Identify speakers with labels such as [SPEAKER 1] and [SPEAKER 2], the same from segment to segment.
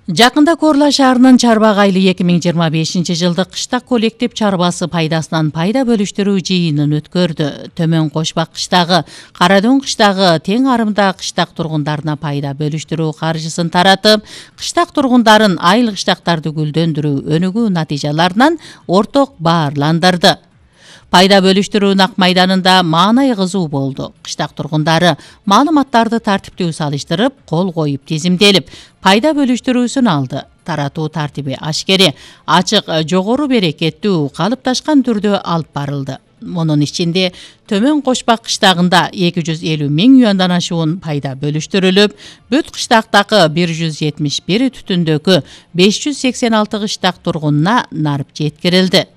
[SPEAKER 1] Жакында Корла шаарынын Чарбак айылы 2025-жылдык кыштак коллектив чарбасы пайдасынан пайда бөлүштүрүү жыйынын өткөрдү. Төмөн Кошбак кыштагы, Карадөң кыштагы тең арымда кыштак тургундарына пайда бөлүштүрүү каржысын таратып, кыштак тургундарын айыл кыштактарды гүлдөндүрүү өнүгүү натыйжаларынан орток баарландырды. Пайда бөлүштүрүү нак майданында маанай кызуу болду. Кыштак тургундары маалыматтарды тартиптүү салыштырып, кол коюп тизимделип, пайда бөлүштүрүүсүн алды. Таратуу тартиби ашкери, ачык, жогору берекеттүү, калыпташкан түрдө алып барылды. Мунун ичинде Төмөн Кошбак кыштагында 250 миң юандан ашуун пайда бөлүштүрүлүп, бүт кыштактагы 171 түтүндөгү 586 кыштак тургунуна нарып жеткирилди.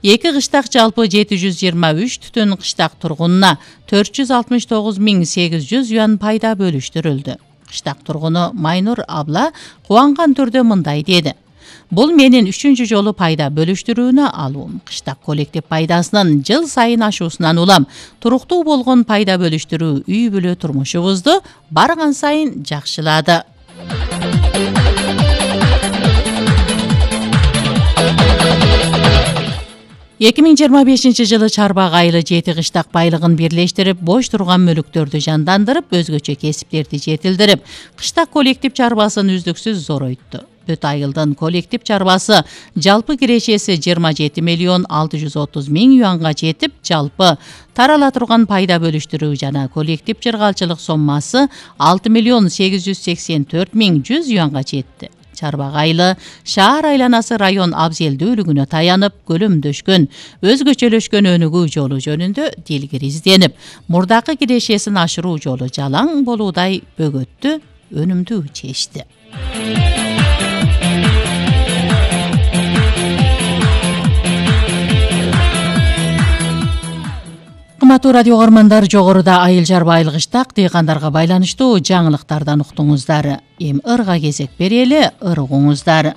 [SPEAKER 1] Эки кыштак жалпы 723 түтүн кыштак тургунуна 469.800 юан пайда бөлүштүрүлдү. Кыштак тургуну Майнур абла кубанган түрдө мындай деди. Бул менин 3-чү жолу пайда бөлүштүрүүнү алуум. Кыштак коллектив пайдасынын жыл сайын ашуусунан улам. Туруктуу болгон пайда бөлүштүрүү үй бүлө турмушубузду барган сайын жакшылады. 2025-жылы Чарбак айылы 7 кыштак байлыгын бирлештирип, бош турган мүлүктөрдү жандандырып, өзгөчө кесиптерди жетилдирип, кыштак коллектив чарбасын үздүксүз зоройтtu. Бүт айылдын коллектив чарбасы жалпы кирешеси 27.630.000 юанга жетип, жалпы тарала турган пайда бөлүштүрүү жана коллектив чыргалчылык соммасы 6.884.100 юанга жетти. Чарбак айылы шаар айланасы район абзелдүүлүгүнө таянып, көлөмдөшкөн, өзгөчөлөшкөн өнүгүү жолу жөнүндө дилгир изденип, мурдакы кирешесин ашыруу жолу жалаң болуудай бөгөттү, өнүмдүү чечти. Кымбаттуу радио көрөрмандар, жогоруда айыл чарба айыл кыштак дыйкандарга байланыштуу жаңылыктардан уктуңуздар. Эми ырга кезек берели, ыр угуңуздар.